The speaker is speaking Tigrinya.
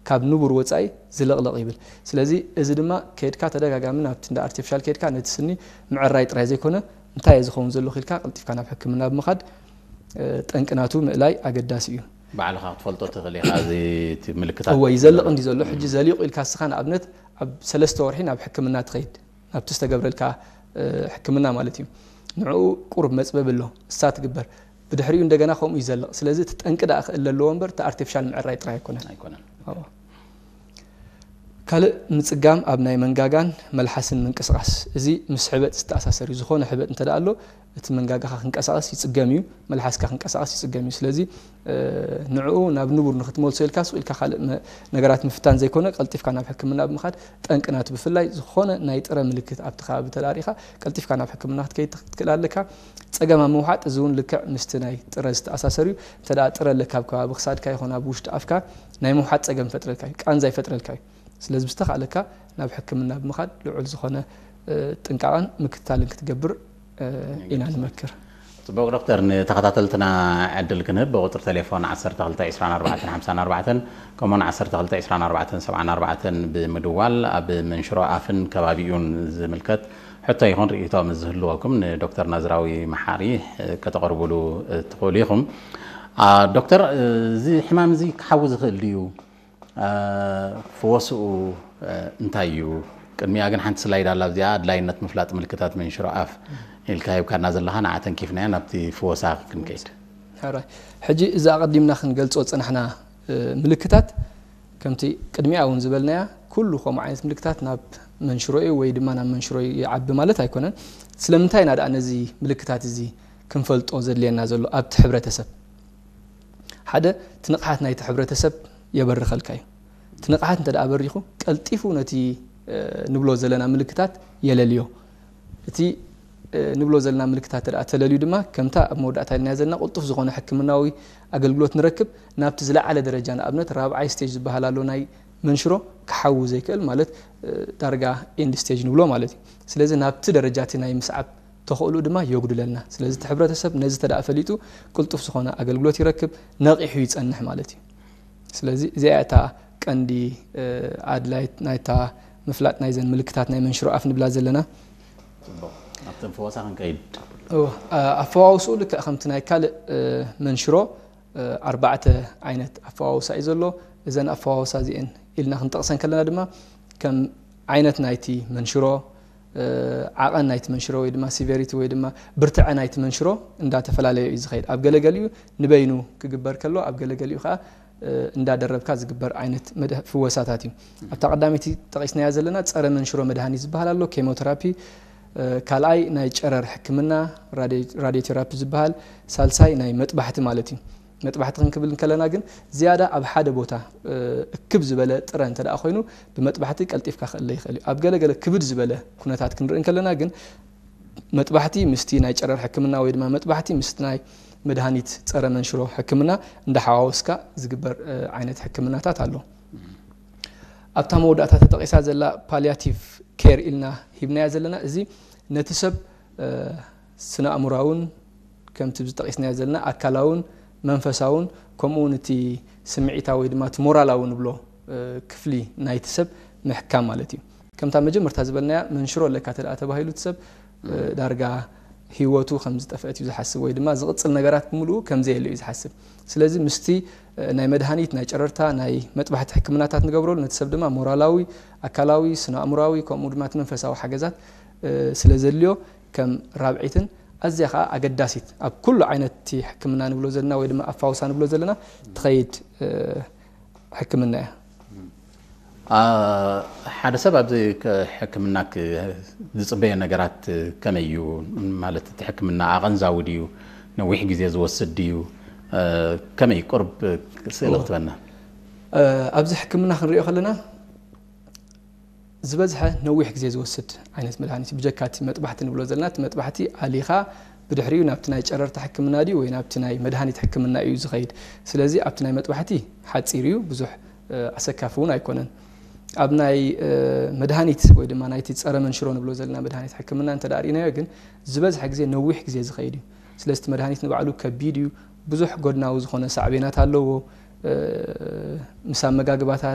ካብ ንቡር ወፃኢ ዝልቕልቕ ይብል። ስለዚ እዚ ድማ ከይድካ ተደጋጋሚ ናብቲ እንዳ ኣርቲፊሻል ከይድካ ነቲ ስኒ ምዕራይ ጥራይ ዘይኮነ እንታይ እዩ ዝኸውን ዘሎ ኢልካ ቀልጢፍካ ናብ ሕክምና ብምኻድ ጠንቅናቱ ምእላይ ኣገዳሲ እዩ። ባዕልኻ ክትፈልጦ ትኽእል ኢኻ። እዚ ምልክታት እወ ይዘልቕ እንዲ ዘሎ ሕጂ ዘሊቑ ኢልካ ስኻ ንኣብነት ኣብ ሰለስተ ወርሒ ናብ ሕክምና ትኸይድ ናብቲ ዝተገብረልካ ሕክምና ማለት እዩ። ንዕኡ ቁሩብ መፅበብ ኣሎ እሳ ትግበር። ብድሕሪኡ እንደገና ከምኡ ይዘልቕ። ስለዚ እቲ ጠንቂ ደኣ ክእል ኣለዎ እምበር እቲ ኣርቲፊሻል ምዕራይ ጥራይ ኣይኮነን። ካልእ ምጽጋም ኣብ ናይ መንጋጋን መልሓስን ምንቅስቓስ። እዚ ምስ ሕበጥ ዝተኣሳሰር እዩ። ዝኾነ ሕበጥ እንተ ኣሎ እቲ መንጋጋኻ ክንቀሳቐስ ይጽገም እዩ፣ መልሓስካ ክንቀሳቐስ ይጽገም እዩ። ስለዚ ንዕኡ ናብ ንቡር ንክትመልሶ ኢልካ ሱቕ ኢልካ ካልእ ነገራት ምፍታን ዘይኮነ ቀልጢፍካ ናብ ሕክምና ብምኻድ ጠንቅናቱ ብፍላይ ዝኾነ ናይ ጥረ ምልክት ኣብቲ ከባቢ ተዳሪኻ ቀልጢፍካ ናብ ሕክምና ክትከይድ ትክእል ኣለካ። ጸገም ኣብ ምውሓጥ እዚ እውን ልክዕ ምስቲ ናይ ጥረ ዝተኣሳሰር እዩ። እንተ ጥረ ኣለካ ኣብ ከባቢ ክሳድካ ይኾን ኣብ ውሽጢ ኣፍካ ናይ ምውሓጥ ጸገም ይፈጥረልካ እዩ፣ ቃንዛ ይፈጥረልካ እዩ። ስለዚ ብዝተኻእለካ ናብ ሕክምና ብምኻድ ልዑል ዝኾነ ጥንቃቐን ምክትታልን ክትገብር ኢና ንመክር። ጽቡቕ ዶክተር፣ ንተኸታተልትና ዕድል ክንህብ ብቁፅሪ ቴሌፎን ዓሰርተ ክልተ ዕስራን ኣርባዕተን ሓምሳን ኣርባዕተን ከምኡውን ዓሰርተ ክልተ ዕስራን ኣርባዕተን ሰብዓን ኣርባዕተን ብምድዋል ኣብ መንሽሮ ኣፍን ከባቢኡን ዝምልከት ሕቶ ይኹን ርእይቶ ምስ ዝህልወኩም ንዶክተር ናዝራዊ መሓሪ ከተቕርቡሉ ትኽእሉ ኢኹም። ዶክተር፣ እዚ ሕማም እዚ ክሓዊ ዝኽእል ድዩ? ፍወስኡ እንታይ እዩ? ቅድሚኣ ግን ሓንቲ ስላይድ ኣላ፣ ኣብዚኣ ኣድላይነት ምፍላጥ ምልክታት መንሽሮ ኣፍ ኢልካ ሂብካና ዘለኻ፣ ንዓ ተንኪፍናያ ናብቲ ፍወሳ ክንከይድ። ሕራይ። ሕጂ እዚ ኣቐዲምና ክንገልጾ ዝጸናሕና ምልክታት ከምቲ ቅድሚኣ እውን ዝበልናያ ኩሉ ከምኡ ዓይነት ምልክታት ናብ መንሽሮ እዩ ወይ ድማ ናብ መንሽሮ ይዓቢ ማለት ኣይኮነን። ስለምንታይ ኢና ደኣ ነዚ ምልክታት እዚ ክንፈልጦ ዘድልየና ዘሎ ኣብቲ ሕብረተሰብ? ሓደ እቲ ንቕሓት ናይቲ ሕብረተሰብ የበርኸልካ እዩ። እቲ ንቕሓት እንተ ደኣ በሪኹ ቀልጢፉ ነቲ ንብሎ ዘለና ምልክታት የለልዮ። እቲ ንብሎ ዘለና ምልክታት ተደኣ ተለልዩ ድማ ከምታ ኣብ መወዳእታ ኢልናያ ዘለና ቅልጡፍ ዝኾነ ሕክምናዊ ኣገልግሎት ንረክብ። ናብቲ ዝለዓለ ደረጃ ንኣብነት ራብዓይ ስቴጅ ዝበሃል ኣሎ ናይ መንሽሮ ክሓዊ ዘይክእል ማለት ዳርጋ ኤንድ ስቴጅ ንብሎ ማለት እዩ። ስለዚ ናብቲ ደረጃ እቲ ናይ ምስዓብ ተኽእሎ ድማ የጉድለልና። ስለዚ እቲ ሕብረተሰብ ነዚ ተደኣ ፈሊጡ ቅልጡፍ ዝኾነ ኣገልግሎት ይረክብ፣ ነቒሑ ይጸንሕ ማለት እዩ። ስለዚ እዚኣ እታ ቀንዲ ኣድላይት ናይታ ምፍላጥ ናይዘን ምልክታት ናይ መንሽሮ ኣፍ ንብላ ዘለና። ኣብተን ፈወሳ ክንከይድ ኣፈዋውስኡ ልክዕ ከምቲ ናይ ካልእ መንሽሮ ኣርባዕተ ዓይነት ኣፈዋውሳ እዩ ዘሎ። እዘን ኣፈዋውሳ እዚአን ኢልና ክንጠቕሰን ከለና ድማ ከም ዓይነት ናይቲ መንሽሮ፣ ዓቐን ናይቲ መንሽሮ ወይ ድማ ሲቨሪቲ ወይ ድማ ብርትዐ ናይቲ መንሽሮ እንዳተፈላለየ እዩ ዝኸይድ። ኣብ ገለገሊኡ ንበይኑ ክግበር ከሎ ኣብ ገለገሊኡ ከዓ እንዳደረብካ ዝግበር ዓይነት ፍወሳታት እዩ። ኣብታ ቀዳመይቲ ጠቒስናያ ዘለና ጸረ መንሽሮ መድሃኒት ዝበሃል ኣሎ፣ ኬሞቴራፒ፣ ካልኣይ ናይ ጨረር ሕክምና ራድዮቴራፒ ዝበሃል፣ ሳልሳይ ናይ መጥባሕቲ ማለት እዩ። መጥባሕቲ ክንክብል እንከለና ግን ዝያዳ ኣብ ሓደ ቦታ እክብ ዝበለ ጥረ እንተ ደኣ ኮይኑ ብመጥባሕቲ ቀልጢፍካ ክእለ ይኽእል እዩ። ኣብ ገለገለ ክብድ ዝበለ ኩነታት ክንርኢ እንከለና ግን መጥባሕቲ ምስቲ ናይ ጨረር ሕክምና ወይ ድማ መጥባሕቲ ምስቲ ናይ መድሃኒት ጸረ መንሽሮ ሕክምና እንዳሓዋወስካ ዝግበር ዓይነት ሕክምናታት ኣሎ። ኣብታ መወዳእታ ተጠቒሳ ዘላ ፓሊያቲቭ ኬር ኢልና ሂብናያ ዘለና እዚ ነቲ ሰብ ስነ ኣእምራውን ከምቲ ዝጠቒስናዮ ዘለና ኣካላውን መንፈሳውን ከምኡ እውን እቲ ስምዒታዊ ወይ ድማ እቲ ሞራላዊ ንብሎ ክፍሊ ናይቲ ሰብ ምሕካም ማለት እዩ። ከምታ መጀመርታ ዝበልናያ መንሽሮ ኣለካ ተደኣ ተባሂሉ እቲ ሰብ ዳርጋ ህይወቱ ከም ዝጠፍአት እዩ ዝሓስብ ወይ ድማ ዝቕፅል ነገራት ብምልኡ ከም ዘየለ እዩ ዝሓስብ። ስለዚ ምስቲ ናይ መድሃኒት ናይ ጨረርታ ናይ መጥባሕቲ ሕክምናታት ንገብረሉ ነቲ ሰብ ድማ ሞራላዊ ኣካላዊ ስነ ኣእምራዊ ከምኡ ድማ እቲ መንፈሳዊ ሓገዛት ስለ ዘድልዮ ከም ራብዒትን ኣዝያ ከዓ ኣገዳሲት ኣብ ኩሉ ዓይነት እቲ ሕክምና ንብሎ ዘለና ወይ ድማ ኣፋውሳ ንብሎ ዘለና ትኸይድ ሕክምና እያ። ሓደ ሰብ ኣብዚ ሕክምና ዝፅበዮ ነገራት ከመይ እዩ? ማለት እቲ ሕክምና ኣቐንዛዊ ድዩ? ነዊሕ ግዜ ዝወስድ ድዩ? ከመይ ቁርብ ስእሊ ክትበና? ኣብዚ ሕክምና ክንሪኦ ከለና ዝበዝሐ ነዊሕ ግዜ ዝወስድ ዓይነት መድሃኒት እዩ። ብጀካ እቲ መጥባሕቲ ንብሎ ዘለና፣ እቲ መጥባሕቲ ኣሊኻ ብድሕሪኡ ናብቲ ናይ ጨረርታ ሕክምና ድዩ ወይ ናብቲ ናይ መድሃኒት ሕክምና እዩ ዝኸይድ። ስለዚ ኣብቲ ናይ መጥባሕቲ ሓፂር እዩ፣ ብዙሕ ኣሰካፊ እውን ኣይኮነን። ኣብ ናይ መድሃኒት ወይ ድማ ናይቲ ፀረ መንሽሮ ንብሎ ዘለና መድሃኒት ሕክምና እንተ ርኢናዮ ግን ዝበዝሐ ግዜ ነዊሕ ግዜ ዝኸይድ እዩ። ስለዚ እቲ መድሃኒት ንባዕሉ ከቢድ እዩ፣ ብዙሕ ጎድናዊ ዝኾነ ሳዕቤናት ኣለዎ። ምስ ኣመጋግባታት፣